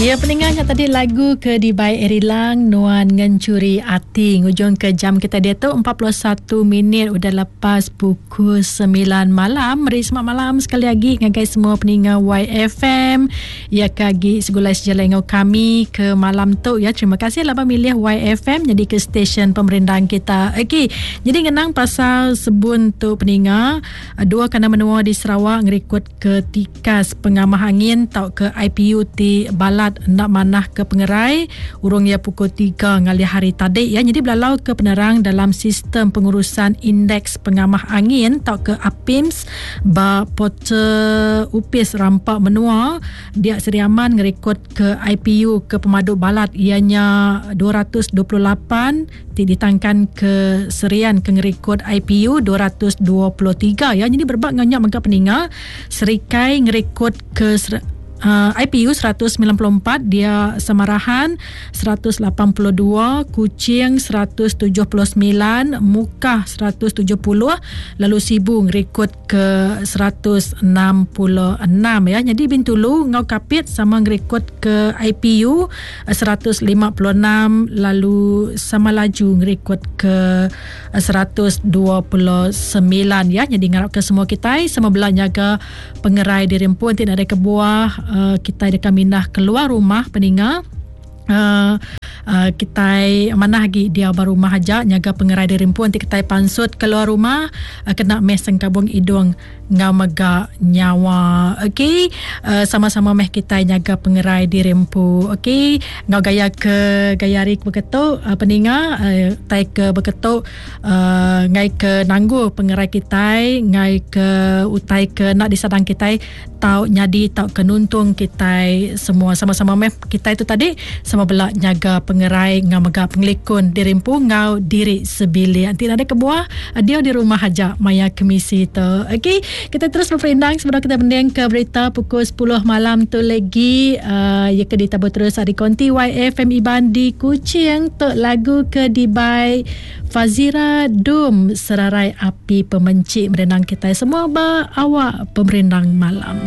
Ya peninggal nya tadi lagu ke dibai Eri Lang Nuan Ngencuri Ati ngujung ke jam kita diatu 41 minit udah lepas pukul 9 malam. Meri selamat malam sekali lagi ngagai semua peninga YFM ya ke agi segulai sejalai enggau kami ke malam tu ya. Terima kasih laban milih YFM jadi ke stesen pemerindang kita. Okey, jadi ngenang pasal sebun tu peninga dua kandang menua di Sarawak ngerikut ke tikas pengamah angin tauka IPU ti balat enda manah ke pengerai urung iya pukul tiga ngalih hari tadi iya nyadi belalau ke penerang dalam sistem pengurusan indeks pengamah angin tauka APIMS ba portal Opis Rampa Menua dia Sri Aman ngerikod ke IPU ke pemadu balat iya nya 228 ti ditangkan ke Serian ke ngerikod IPU 223 ya. Jadi berebak enggau nya mega peninga Serikai ngerikod ke uh, IPU 194 dia Samarahan 182 Kuching 179 Mukah 170 lalu Sibu ngerikod ke 166 ya. Jadi Bintulu enggau Kapit sama ngerikod ke IPU 156 lalu sama laju ngerikod ke 129 ya. Jadi ngarap ke semua kitai sama bela nyaga pengerai diri empu enti nadai kebuah uh, kitai deka mindah keluar rumah peninga uh, uh, kitai manah agi diau ba rumah aja nyaga pengerai diri empu enti kitai pansut keluar rumah uh, kena meh sengkabung idung enggau mega nyawa. Okey, uh, sama-sama meh kitai nyaga pengerai diri empu. Okey, enggau gaya ke gaya hari ke beketu uh, peninga uh, tai ke beketu uh, ngai ke nanggul pengerai kitai, ngai ke utai ke enda disadang kitai tau nyadi tau ke nuntung kitai semua. Sama-sama meh kitai tu tadi sama bela nyaga pengerai enggau mega pengelikun diri empu enggau diri sebilik. Enti nadai kebuah diau di rumah aja maya kemisi tu. Okey, kita terus beperindang sebedau kita mending ke berita pukul 10 malam tu lagi uh, ya ke ditabur terus ari konti YFM Iban di Kuching tu lagu ke dibai Fazira Dum Serarai Api Pemenchi merindang kitai semua ba awak pemerindang malam.